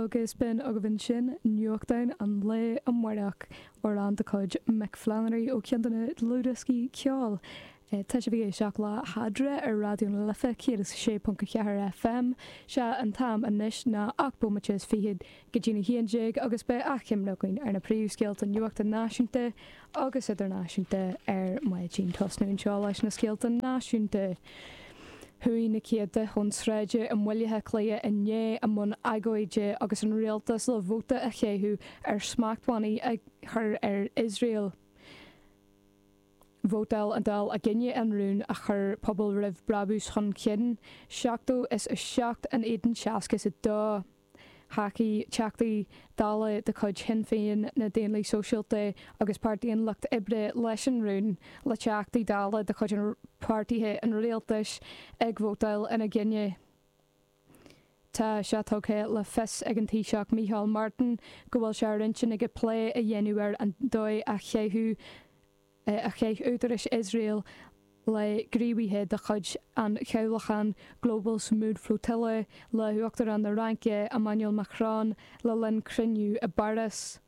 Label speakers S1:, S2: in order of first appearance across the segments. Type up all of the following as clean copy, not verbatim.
S1: Agus b'in agaibh ansin nuachtán an lae amárach, amhrán de chuid Mick Flannery ó cheann de na dlúthdhioscaí ceoil. Tá sibh ag éisteacht le hEadra ar Raidió na Life 106.4 FM. Sé an t-am anois ná 8 bomaite is fichead go dtí'n 11 agus beidh achoimre againn ar na príomhscéalta nuachta náisiúnta agus idirnáisiúnta ar maidin. Tosnú anseo leis na scéalta náisiúnta. Chuaigh na céadta chun sráide i mBaile Átha Cliath inné i mbun agóide agus an rialtas le vóta a chaitheamh ar smachtbhannaí a chur ar Iosrael. Vótáil an Dáil i gcoinne an rúin a chuir Pobal Roimh Brabús chun cinn, 70 is 7 in éadan 60 is 2. Thacaigh Teachtaí Dála de chuid Shinn Féin, na Daonlathaithe Sóisialta agus Páirtí an Lucht Oibre leis an rún, le Teachtaí Dála de chuid páirtithe an rialtais ag vótáil ina gcoinne. Tá sé tugtha le fios ag an Taoiseach Micheál Martin go bhfuil sé ar intinn aige plé a dhéanamh ar an dóigh a chaitheadh a chaith údaráis Iosrael le gníomhaithe de chuid an chabhlacháin Global Sumud Flotilla le hUachtarán na Fhraince, Emmanuel Macron, le linn cruinniú i bPáras.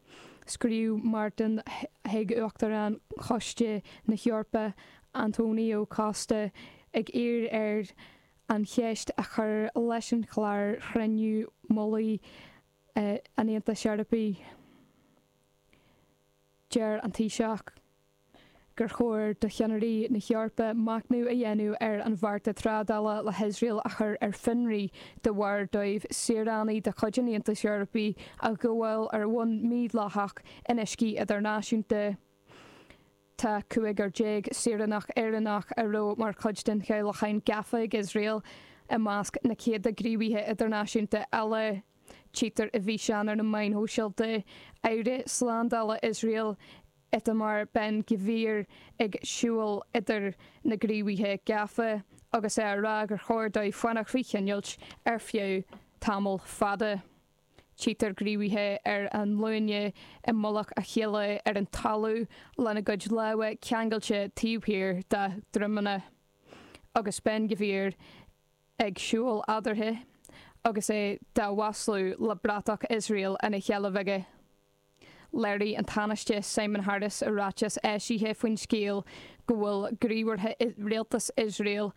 S1: Scríobh Martin chuig Uachtarán Choiste na hEorpa, Antonio Costa, ag iarraidh air an cheist a chur leis an chlár chruinniú mullaigh an Aontais Eorpaigh. Deir an Taoiseach gur chóir do cheannairí na hEorpa machnamh a dhéanamh ar an bhearta trádála le hIosrael a chur ar fionraí de bharr dóibh saoránaigh de chuid an Aontais Eorpaigh a ghabháil ar bhonn mídhleathach in uiscí idirnáisiúnta. Tá 15 saoránach Éireannach a raibh mar chuid den chabhlachán gafa ag Iosrael i measc na céadta gníomhaithe idirnáisiúnta eile. Tchítear i bhfíseán ar na meáin shóisialta Aire Slándála Iosrael Itamar Ben Gvir ag siúl idir na gníomhaithe gafa agus é á rá gur chóir dóibh fanacht faoi choinneáil ar feadh tamall fada. Tchítear gníomhaithe ar a nglúine i mullach a chéile ar an talamh lena gcuid lámha ceangailte taobh thiar dá ndroimeanna agus Ben Gvir ag siúl eadarthu agus é dá mhaslú le bratach Iosrael ina sheilbh aige. Léirigh an Tánaiste Simon Harris i ráiteas eisithe faoin scéal go bhfuil gníomhartha rialtas Iosrael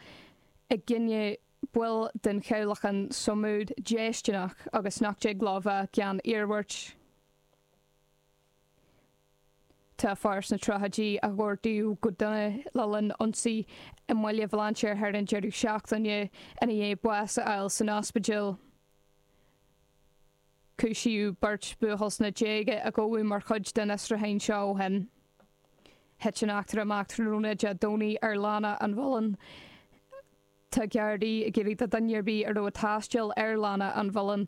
S1: i gcoinne baill den chabhlachán Sumud déistineach agus nach dtig leo bheith gan iarmhairt. Tá fear sna tríochaidí a gortaíodh go dona le linn ionsaí i mBaile Bhlainséir thar an deireadh seachtaine i ndiaidh bás a fháil san ospidéal. Cúisíodh beirt bhuachaill sna déaga a gabhadh mar chuid den fhiosrúchán seo ó shin. Thit an eachtra amach tráthnóna Dé Domhnaigh ar Lána an Mhuilinn. Tá Gardaí ag iarraidh do dhuine ar bith a raibh ag taisteal ar Lána an Mhuilinn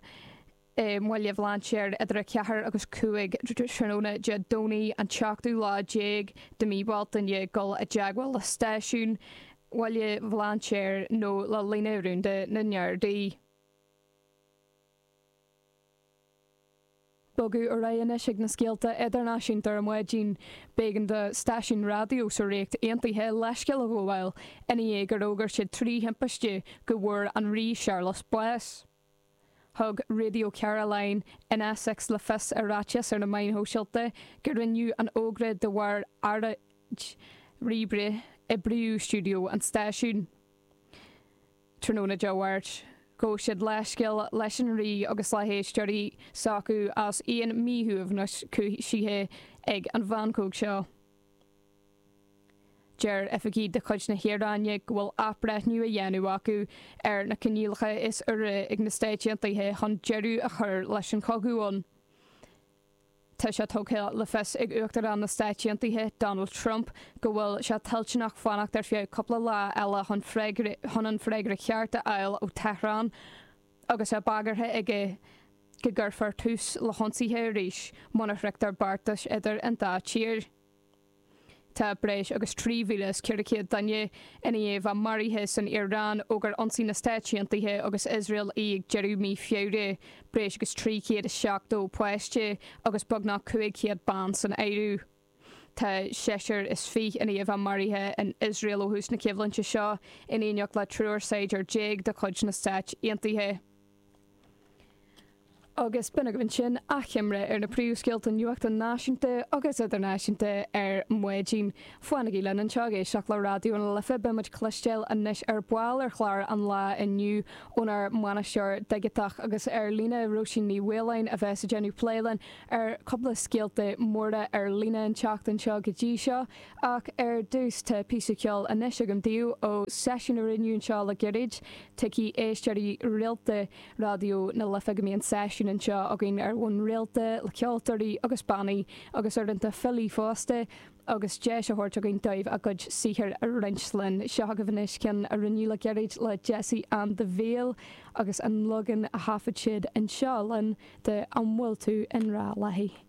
S1: i mBaile Bhlainséir idir 4 agus 5 tráthnóna Dé Domhnaigh an tseachtú lá déag de mhí Bealtaine dul i dteagmháil le stáisiún Bhaile Bhlainséir nó le líne rúnda na nGardaí. Bogadh ar aghaidh anois ag na scéalta idirnáisiúnta ar maidin. B'éigean do stáisiún raidió sa Ríocht Aontaithe leithscéal a ghabháil ina dhiaidh gur fhógair siad trí thimpiste go bhfuair an Rí Séarlas bás. Thug Radio Caroline in Essex le fios i ráiteas ar na meáin shóisialta gur rinneadh an fhógra de bharr earráid ríomhaire i bpríomh-stiúideo an stáisiúin. Tráthnóna Dé Máirt, ghabh siad leithscéal leis an Rí agus le héisteoirí s'acu as aon mhíshuaimhneas cúisithe ag an mheancóg seo. Deir oifigigh de chuid na hIaráine go bhfuil athbhreithniú á dhéanamh acu ar na coinníollacha is úire ag na Stáit Aontaithe chun deireadh a chur leis an chogadh ann. Tá sé tugtha le fios ag Uachtarán na Stáit Aontaithe, Donald Trump, go bhfuil sé toilteanach fanacht ar feadh cúpla lá eile chun chun an freagra ceart a fháil ó Tehran agus é bagartha aige go gcuirfear tús le hionsaithe arís muna shroichtear beartas idir an dá tír. Tá breis agus 3,400 duine i ndiaidh bheith maraithe san Iaráin ó gur ionsaigh na Stáit Aontaithe agus Iosrael í ag deireadh mí Feabhra, breis agus 370 páiste agus beagnach 500 bean san áireamh. Tá seisear is fiche i ndiaidh bheith maraithe in Iosrael ó thús na coimhlinte seo, in éineacht le triúr saighdiúir déag de chuid na Stáit Aontaithe. Agus b'in agaibh ansin achoimre ar na príomhscéalta nuachta náisiúnta agus idirnáisiúnta ar maidin. Fanaigí linn anseo ag éisteacht le Raidió na Life. Beidh muid cloisteáil anois ar ball ar chlár an lae inniu ónár mbainisteoir digiteach agus ar líne Róisín Ní Mhaoláin a bheas ag déanamh plé linn ar chúpla scéalta móra ar líne an tseachtain seo go dtí seo. Ach ar dtús tá píosa ceoil anois agam daoibh ó seisiún a rinneadh anseo le gairid. Tuigfidh éisteoirí rialta Raidió na Life go mbíonn seisiún anseo againn ar bhonn rialta le ceoltóirí agus bannaí agus uaireanta filí fosta agus deis á thabhairt againn dóibh a gcuid saothair a roinnt linn. Seo agaibh anois ceann a rinneadh le gairid le Jessie and the Veil agus an leagan a thaifead siad anseo linn de An bhfuil tú i ngrá léi?